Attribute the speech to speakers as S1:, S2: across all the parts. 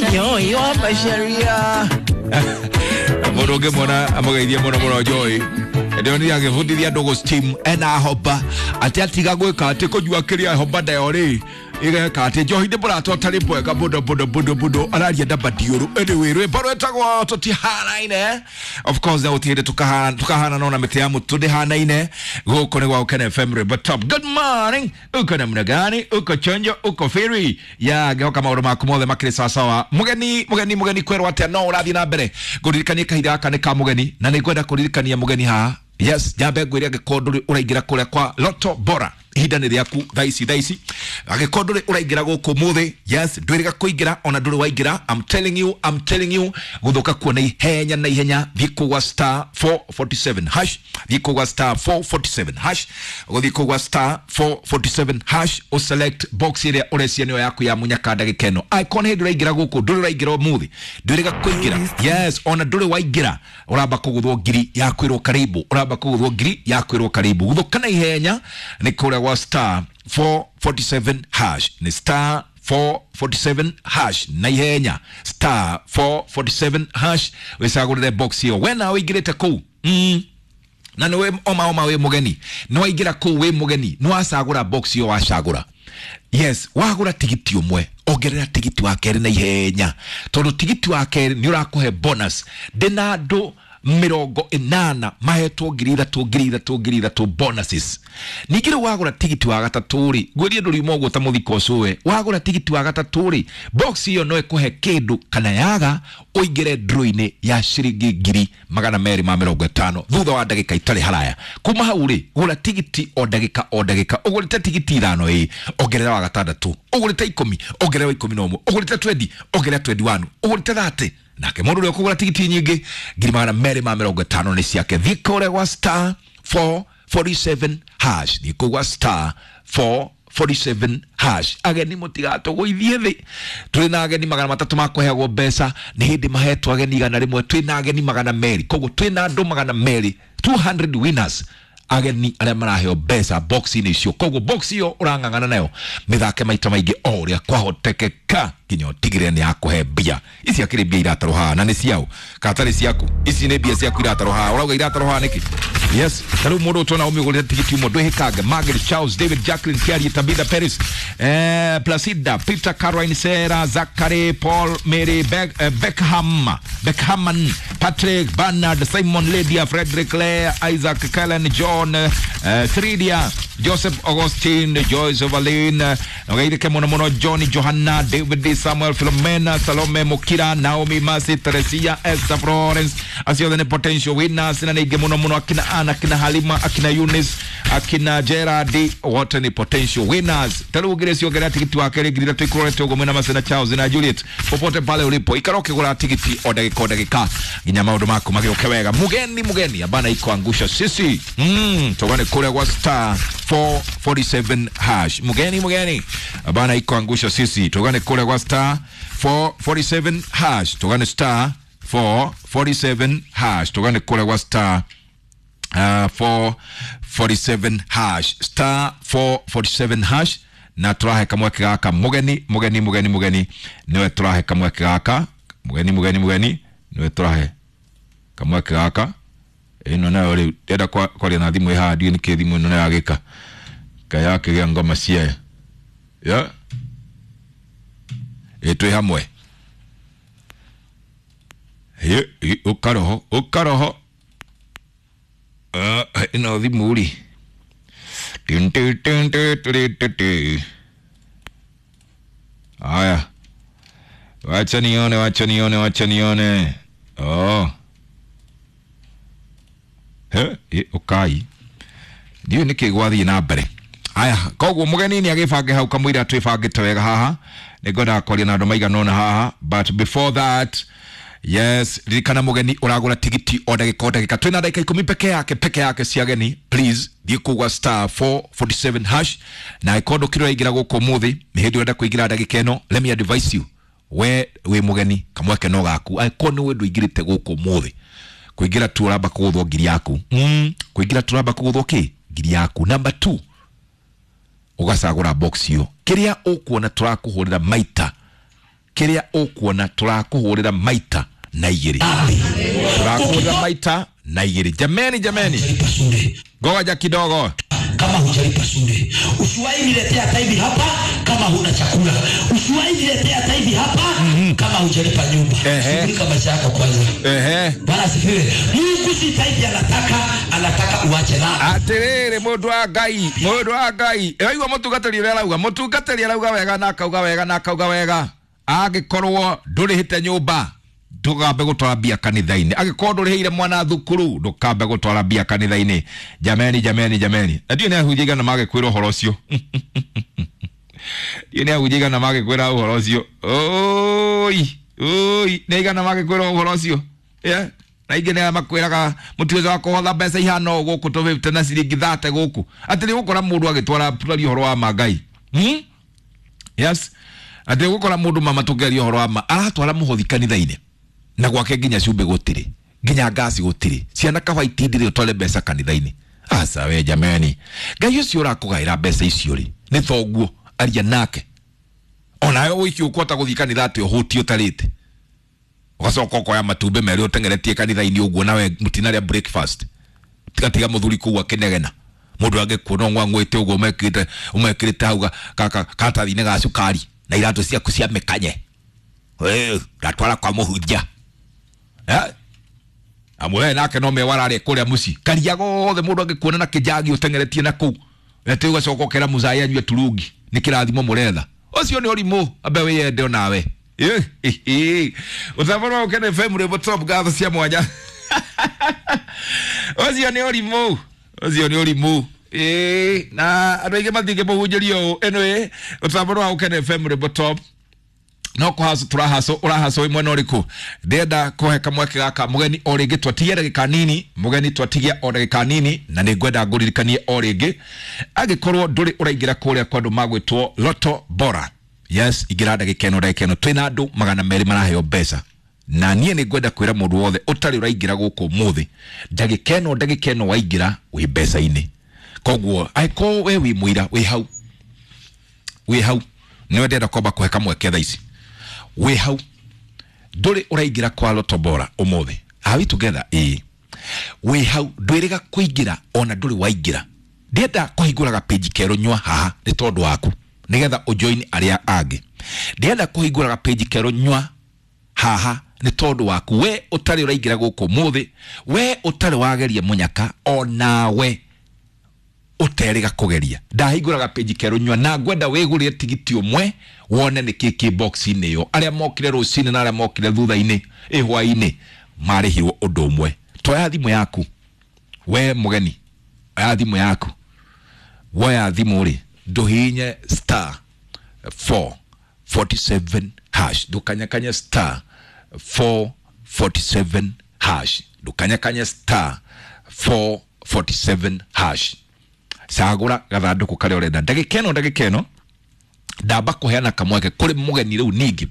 S1: Joy wa Macharia.
S2: Mũndũ ũngĩmuona amũgeithie mũno mũno Joy. Ndĩronire agĩbundithia andũ gũ steam ena hoba atĩ atiga gwĩka atĩ kũnyua kĩrĩa hoba nayo rĩ ĩgeka atĩ njohi nĩ mũratwa tarĩ mwega mũno mũno mũno mũno araria na madiũrũ. Anyway, rwĩmbo rwĩtagwo tũtihanaine, of course na gũtirĩ tukahana no na mĩtĩ ya mũtũ ndĩhanaine. Gũkũ nĩ gwa Gũkena FM, rwĩmbo top. Good morning, uko namna gani? Uko chonjo? Uko firi ya ngĩhoka maũndũ maku mothe makĩrĩ sawasawa. Mũgeni mũgeni mũgeni kwerwo atĩa? No ũrathiĩ na mbere ngũririkanie kahinda gaka nĩ ka mũgeni, na nĩ ngwenda kũririkania mũgeni haha. Yes, nyambe ngwĩre angĩkorwo ndũrĩ ũraingĩra kũrĩa kwa Lotto Bora, ihinda nĩ rĩaku thaa ici thaa ici. Angĩkorwo ndũrĩ ũraingĩra gũkũ mũthĩ, yes, ndwĩrĩga kũingĩra ona ndũrĩ waingĩra. I'm telling you, I'm telling you, gũthũka kuo na ihenya na ihenya. Thiĩ kũgwa star 447 hash, thiĩ kũgwa star 447 hash, ũgũthiĩ kũgwa star 447 hash, ũselect box ĩrĩa ũrecia nĩyo yaku ya munyaka ndagĩka ĩno. Angĩkorwo nĩ hĩndĩ ũraingĩra gũkũ, ndũrĩ ũraingĩra ũmũthĩ, ndwĩrĩga kũingĩra, yes, ona ndũrĩ waingĩra, ũramba kũgũthwo ngiri ya kwĩrwo karibu, ũramba kũgũthwo ngiri ya kwĩrwo karibu. Gũthũka na ihenya nĩ kũrĩa gwa star 447 hash, nĩ star 447 hash na ihenya, star 447 hash, wĩcagũrĩre box ĩyo. We nawe ũingĩrĩte kũu na nĩwe oma oma wĩ mũgeni, nĩ waingĩra kũu wĩ mũgeni, nĩ wacagũra box ĩyo wacagũra. Yes, wagũra tigiti ũmwe, ongerera tigiti wa kerĩ na ihenya, tondũ tigiti wa kerĩ nĩ ũrakũhe bonus. Ndĩna andũ 80 mahetwo 3,000 3,000 3,000 bonuses. Ningĩ rĩu wagũra tigiti wa gatatũ rĩ, ngwĩrie ndũriuma ũguo ta mũthiko ũcũwe. Wagũra tigiti wa gatatũ rĩ, box ĩyo no ĩkũhe kĩndũ kana yaga ũingĩre draw-inĩ ya ciringi 250,000 thutha wa ndagĩka itarĩ haraya. Kuma hau rĩ, gũra tigiti o ndagĩka o ndagĩka. Ũgũrĩte tigiti 5 ĩ, ongerera wa gatandatũ. Ũgũrĩte 10, ongerera wa 11. Ũgũrĩte 20, ongerera 21. Ũgũrĩte 30, nake mũndũ ũrĩa ũkũgũra tigiti nyingĩ 250,000 nĩ ciake. Thiĩ kũrĩa gwa star 447 hash, thiĩ kũu gwa star 447 hash. Ageni mũtigatũgũithie thĩ, tũrĩ na ageni 300 ma kũheagwo mbeca, nĩ hĩndĩ mahetwo ageni 100, twĩ na ageni 200, koguo twĩ na andũ 200, 200 winners, ageni arĩa maraheo mbeca box-inĩ icio. Koguo box ĩyo ũrang'ang'ana nayo mĩthake maita maingĩ o ũrĩa kwahotekeka nginya ũtigĩrĩre nĩ yakũhe mbia. Ici akĩrĩ mbia iratarwo haha na nĩ ciao kana tarĩ ciaku? Ici nĩ mbia ciaku iratarwo haha, ũrauga iratarwo haha nĩkĩ? Yes, ta rĩu mũndũ ũtona ũmĩgũrĩte tigiti ũmwe, ndwĩhĩkange. Margaret, Charles, David, Jacqueline, Kiarie, Tabitha, Paris, Placida, Peter, Caroline, Sarah, Zachary, Paul, Mary, Beckham, Beckhaman, Patrick, Bernard, Simon, Lydia, Frederick, Claire, Isaac, Kellen, John, Tridia, Joseph, Augustine, Joyce, Valine, Ogeirike mũno mũno, John, Johanna, David, Samuel, Philomena, Salome, Mukira, Naomi, Mercy, Teresia, Esther, Florence, acio othe nĩ potential winners, na nĩ aingĩ mũno mũno, akina Anna, akina Halima, akina Eunice, akina Gerard, wote ni potential winners. Ta rĩu ũngĩrĩ ciongerera tigiti wa kerĩ 3,000 ikũrorete ũguo mwĩna Mercy na Charles na Juliet, popote pale ulipo, ikara ũkĩgũra tigiti o ndagĩka o ndagĩka nginya maũndũ maku magĩũke wega. Mugeni mugeni abana ikuangusha sisi tugane kũrĩa gwa star 447 hash. Mugeni mugeni abana ikuangusha sisi, tugane kũrĩa gwa star 447 hash, tugane star 447 hash, tugane kũrĩa gwa star 447 hash, star 447 hash, na tũrahe kamweke gaka mũgeni mũgeni mũgeni mũgeni nĩwe tũrahe kamweke gaka mũgeni mũgeni mũgeni nĩwe tũrahe kamweke gaka. Ĩno nayo rĩu ndĩrenda kwaria na thimũ ĩ haha, ndiũĩ nĩkĩ thimũ ĩno nayo yagĩka kaĩ yakĩgĩa ngoma ciayo ya ĩ twĩ hamwe. Ũkaroho ũkaroho ĩno thimũ rĩ. Tin, tin, tin, tin, tin, tin, tin. Haya, wacha nione, wacha nione, wacha nione. Oh. He, ũkai ndiũĩ nĩkĩ gwathiĩ na mbere. Aya, koguo mũgeni nĩ agĩbange hau kamũira twĩbangĩte wega haha, nĩ ngwendaga kwaria na andũ maigana ũna haha, but before that, yes, ririkana mũgeni ũragũra tigiti o ndagĩka o ndagĩka, twĩna ndagĩka 10 peke yake peke yake cia ageni. Please thiĩ kũu gwa star 447 hash, na angĩkorwo ndũkĩrĩ ũraingĩra gũkũ ũmũthĩ, nĩ hĩndĩ ũrenda kũingĩra ndagĩka ĩno, let me advise you, we wĩ mũgeni kamweke no gaku. Angĩkorwo nĩ we ndũingĩrĩte gũkũ ũmũthĩ, kũingĩra tu ũramba kũgũthwo ngiri yaku. Kũingĩra tu ũramba kũgũthwo kĩ ngiri yaku. Number 2, ũgacagũra box ĩyo kĩrĩa ũkuona tũrakũhũrĩra maita Kĩrĩa ũkuona tũrakũhũrĩra maita na igĩrĩ. Tũrakũhũrĩra maita na igĩrĩ. Jameni, jameni. Ngoja kidogo.
S1: Kama hujalipa shule, usiwahi niletea taivi hapa kama huna chakula. Usiwahi niletea taivi hapa kama hujalipa nyumba. Shughulika maisha yako kwanza. Bwana asifiwe. Mungu si taivi anataka, anataka uache dhambi.
S2: Atiriri mundu wa Ngai, mundu wa Ngai. Ĩraigua mũtungatĩri ũrĩa arauga, mũtungatĩri arauga wega na akauga wega na akauga wega. Angĩkorwo ndũrĩhĩte nyũmba, ndũkambe gũtwara mbia kanitha-inĩ. Angĩkorwo ndũrĩhĩire mwana thukuru, ndũkambe gũtwara mbia kanitha-inĩ. Jameni, jameni, jameni. Na ndiũĩ nĩ ahunjia aigana magĩkwĩra ũhoro ũcio. Ndiũĩ nĩ ahunjia aigana magĩkwĩra ũhoro ũcio. Oi, oi, nĩ aigana magĩkwĩra ũhoro ũcio. Yeah. Na ingĩ nĩ makwĩraga mũtiweza wa kũhotha mbeca ihana ũũ gũkũ tũ 50 na ciringi 30 gũkũ. Atĩ nĩ ũgũkora mũndũ agĩtwara tũraria ũhoro wa ma Ngai. Yes. Atĩ ũgũkora mũndũ mama tũngĩaria ũhoro wa ma aratwara mũhothi kanitha-inĩ. Na gwake nginya cumbĩ gũtirĩ, nginya ngasi gũtirĩ, ciana kaba itindire ũtware mbeca kanitha-inĩ. Aca we jameni, Ngai ũcio ũrakũgaĩra mbeca icio rĩ nĩ thoguo, aria nake. Onawe wiki ũkũhota gũthiĩ kanitha atĩ ũhũtie ũtarĩte, ũgacoka ũkoya matumbĩ merĩ ũteng'eretie kanitha-inĩ ũguo, nawe mũtinarĩa breakfast. Tiga mũthuri kũu akĩnegena, mũndũ angĩkuona ũng'ang'ũĩte ũguo ũmekĩrĩte hau karatathi-inĩ ga cukari na iratũ ciaku cia mĩkanye, ndatwara kwa mũhunjia. Amwe nake no mewararĩa kũrĩa mũciĩ karia gothe mũndũ angĩkuona na kĩnjagi ũteng'eretie na kũu atĩ ũgacoka ũkera mũcai anyue turungi nĩ kĩrathimo mũretha. Ũcio nĩ ũrimũ, ambe wĩyende onawe. Ũthamano wa Ũkene FM rwĩmbo top ngatho cia mwanya. Ũcio nĩ ũrimũ, ũcio nĩ ũrimũ. Na andũ aingĩ matingĩmũhunjĩria ũũ. Anyway, ũthamano wa Ũkene FM rwĩmbo top no kũhaco tũrahaco ũrahaco wĩ mwena ũrĩkũ. Ndĩrenda kũhe kamweke gaka mũgeni o rĩngĩ, twatigia ndagĩka nini, mũgeni twatigia o ndagĩka nini, na nĩ ngwenda ngũririkanie o rĩngĩ angĩkorwo ndũrĩ ũraingĩra kũrĩa kwa andũ magwĩtwo Lotto Bora. Yes, ingĩra ndagĩka ĩno, ndagĩka ĩno twĩna andũ 200 maraheo mbeca, na niĩ nĩ ngwenda kwĩra mũndũ wothe ũtarĩ ũraingĩra gũkũ ũmũthĩ, ndagĩka ĩno, ndagĩka ĩno waingĩra wĩ mbeca-inĩ. Koguo angĩkorwo we wĩ mũira, wĩ hau, wĩ hau, nĩwe ndĩrenda kwamba kũhe kamweke thaa ici. Wĩ hau ndũrĩ ũraingĩra kwa Lotto Bora ũmũthĩ, are we together? Ĩĩ, wĩ hau ndwĩrĩga kũingĩra ona ndũrĩ waingĩra. Ndĩrenda kũhingũraga page kerũ nyua haha nĩ tondũ waku, nĩgetha ũjoin arĩa angĩ. Ndĩrenda kũhingũraga page kerũ nyua haha nĩ tondũ waku, we ũtarĩ ũraingĩra gũkũ ũmũthĩ, we ũtarĩ wageria mũnyaka, onawe ũterĩga kũgeria. Ndahingũraga page kerũ nyua na ngwenda wĩgũrĩre tigiti ũmwe wone nĩ kĩ kĩ box-inĩ ĩyo. Arĩa mokire rũcinĩ na arĩa mokire thutha-inĩ hwaĩ-inĩ marĩhirwo ũndũ ũmwe. Toya thimũ yaku we mũgeni, oya thimũ yaku, woya thimũ rĩ ndũhihinye star 447 hash, ndũkanyakanye star 447 hash, ndũkanyakanye star 447 hash. Cagũra gathandũkũ karĩa ũrenda. Ndagĩka ĩno, ndagĩka ĩno ndamba kũheana kamweke kũrĩ mũgeni rĩu ningĩ,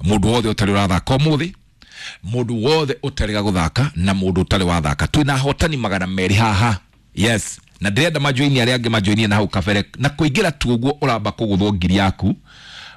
S2: mũndũ wothe ũtarĩ ũrathaka ũmũthĩ, mũndũ wothe ũtarĩ gũthaka na mũndũ ũtarĩ wathaka. Twĩna ahotani 200 haha. Yes, na ndĩrenda majoini arĩa angĩ majoinie na hau kabere, na kũingĩra tu ũguo ũramba kũgũthwo ngiri yaku,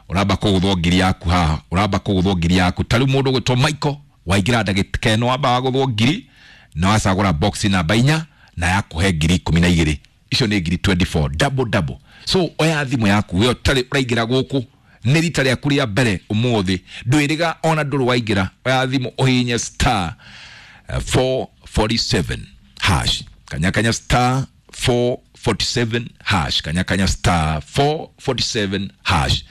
S2: ũramba kũgũthwo ngiri yaku haha, ũramba kũgũthwo ngiri yaku. Ta rĩu mũndũ ũgwĩtwo Michael waingĩra ndagĩka ĩno wamba wagũthwo ngiri na wacagũra box namba 4 na yakũhe ngiri 12. Icio nĩ ngiri 24 double double. So oya thimũ yaku we ũtarĩ ũraingĩra gũkũ, nĩ rita rĩaku rĩa mbere ũmũthĩ, ndwĩrĩga ona ndũrĩ waingĩra, oya thimũ ũhihinye star 447 hash, kanyakanya star 447 hash, kanyakanya star 447 hash.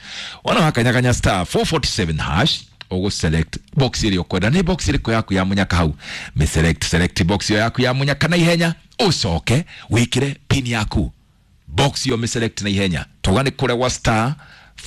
S2: Wana wakanyakanya star 447 hash, ũgũ select box ĩrĩa ũkwenda. Nĩ box ĩrĩkũ yaku ya mũnyaka hau? Mĩ select, select box ĩyo yaku ya mũnyaka na ihenya, ũcoke wĩkĩre pin yaku. Box ĩyo mĩ select na ihenya, tauga nĩ kũrĩa gwa star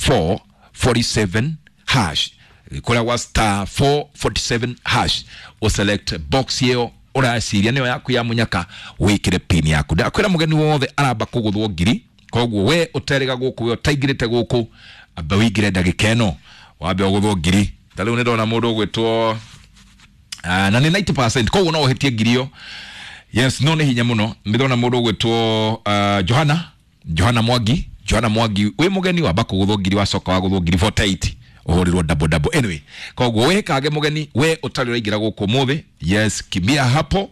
S2: 447 hash, kũrĩa gwa star 447 hash, ũ select box ĩyo ũraciria nĩyo yaku ya mũnyaka, wĩkĩre pin yaku. Ndakwĩra mũgeni wothe aramba kũgũthwo ngiri, koguo we ũterĩga gũkũ, we ũtaingĩrĩte gũkũ, amba wĩingĩre ndagĩka ĩno wambe ũgũthwo ngiri. Ta rĩu nĩ ndona mũndũ ũgwĩtwo na nĩ 90%, koguo no ũhĩtie ngiri ĩyo. Yes, no nĩ hinya mũno. Nĩ ndona mũndũ ũgwĩtwo Johana, Johana Mwangi, Johana Mwangi wĩ mũgeni wamba kũgũthwo ngiri, wacoka wagũthwo ngiri 48. Ũhũrĩrwo double double. Anyway, koguo we kage mũgeni, we ũtarĩ ũraingĩra gũkũ ũmũthĩ, yes, kimbia hapo,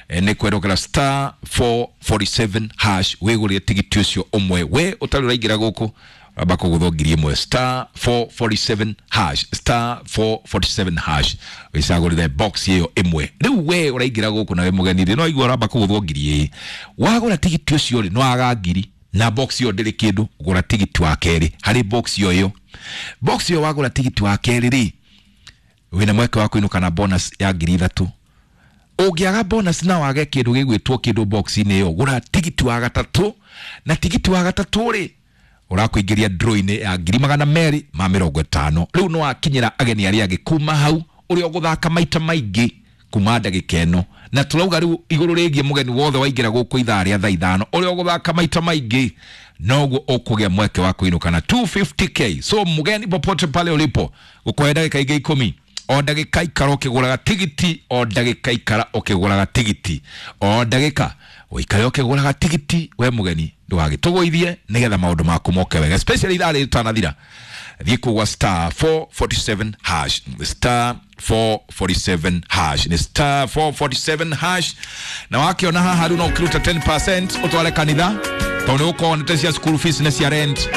S2: nĩ kwerokera star 447 hash wĩgũrĩre tigiti ũcio ũmwe. We ũtarĩ ũraingĩra gũkũ amba kũgũthwo 1000, star 447 hash, star 447 hash, wĩcagũrĩre box ĩyo ĩmwe. Rĩu we ũraingĩra gũkũ na wĩ mũgeni rĩ, no igua ũramba kũgũthwo ngiri ĩĩ. Wagũra tigiti ũcio rĩ, no waga ngiri na box ĩyo ndĩrĩ kĩndũ. Gũra tigiti wa kerĩ harĩ box ĩyo ĩyo, box ĩyo wagũra tigiti wa kerĩ rĩ, wĩna mweke wa kũinũka na bonus ya 3000. Ũngĩaga bonus na wage kĩndũ gĩgwĩtwo kĩndũ box-inĩ ĩyo, gũra tigiti wa gatatũ, na tigiti wa gatatũ rĩ, ũrakũingĩria draw-inĩ ya 250,000. Rĩu no wakinyĩra ageni arĩa angĩ kuma hau ũrĩa ũgũthaka maita maingĩ kuma ndagĩka ĩno. Na tũrauga rĩu igũrũ rĩgiĩ mũgeni wothe waingĩra gũkũ ithaa rĩa thaa 5, ũrĩa ũgũthaka maita maingĩ noguo ũkũgĩa mweke wa kũinũka na 250K. So mũgeni, popote pale ulipo, gũkũhe ndagĩka ingĩ 10. O ndagĩka ikara ũkĩgũraga tigiti, o ndagĩka ikara ũkĩgũraga tigiti, o ndagĩka ũikare ũkĩgũraga tigiti. We mũgeni, ndũgagĩtũgũithie nĩgetha maũndũ maku moke wega, especially ithaa rĩrĩ tũtanathira. Thiĩ kũgwa star 447 hash, star 447 hash, nĩ star 447 hash. Na wakĩona haha rĩu no ũkĩruta 10% ũtware kanitha, tondũ nĩ ũkorwo nĩte cia school fees, nĩ cia rent.